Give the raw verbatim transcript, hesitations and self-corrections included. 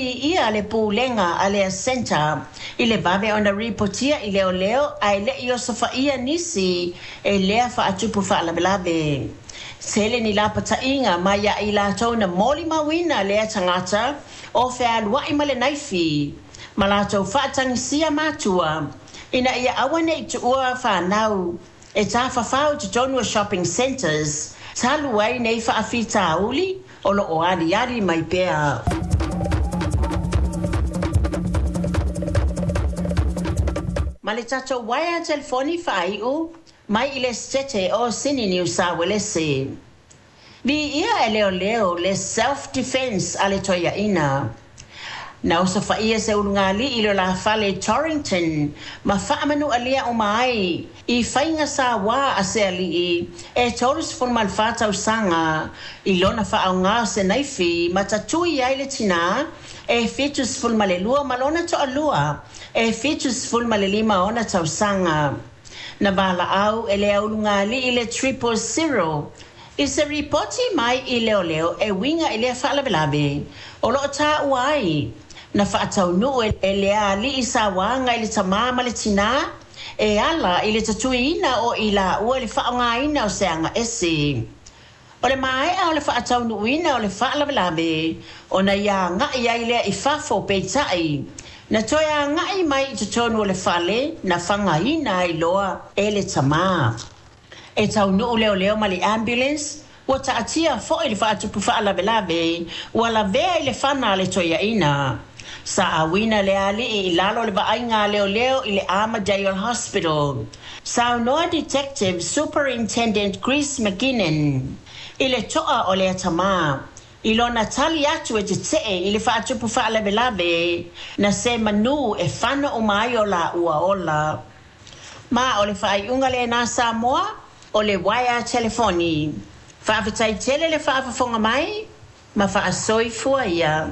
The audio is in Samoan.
Viia le pulega a le Centre i le vave ona ripotia i leoleo ae le'i osofaia nisi e lea faatupu faalavelave. Tele ni lapataiga mai ia i latou na molimauina lea tagata o fealuai ma le naifi ma latou faatagisia matua ina ia aua nei tuua fanau e tafafao i totonu o shopping centres talu ai nei faafitauli o loo aliali mai pea. Ma le tatou uaea telefoni faaiu mai i le Setete o Sini Niu Sa Uelese. Viia e leoleo le self defence a le toeaina. Na osofaia se ulugalii i le olafale Torrington ma faamanualia uma ai i faiga sauā a se alii e tolusefulumafa tausaga i lona faaaogā o se naifi ma tatui ai le tinā e fitusefulumalelua ma lona toalua e fitusefulumalelima ona tausaga. Na valaau e le aulugalii le triple zero i se ripoti mai i leoleo e uiga i lea faalavelave o loo taua ai na faataunuu e le alii sauaga i le tamā ma le tinā e ala i le tatuiina o i laua i le faaaogaina o se aga ese. O le maea o le faataunuuina o le faalavelave ona ia agai ai lea i fafo, peitai na toe agai mai i totonu o le fale na fagaina ai loa e le tamā. E taunuu leoleo ma le ambulance, ua taatia foi le faatupu faalavelave ua lavea i le fana a le toeaina. Sa auina le alii i lalo o le vaaiga a leoleo i le Armadale Hospital. Saunoa Detective Superintendent Chris McKinnon i le toa o lea tamā i lona tali atu e tetee i le faatupu faalavelave na se manu e fana uma ai o laua ola. Ma o le faaiuga lenā Samoa o le uaea telefoni. Faafetai tele le faafofoga mai ma faasoifua ia.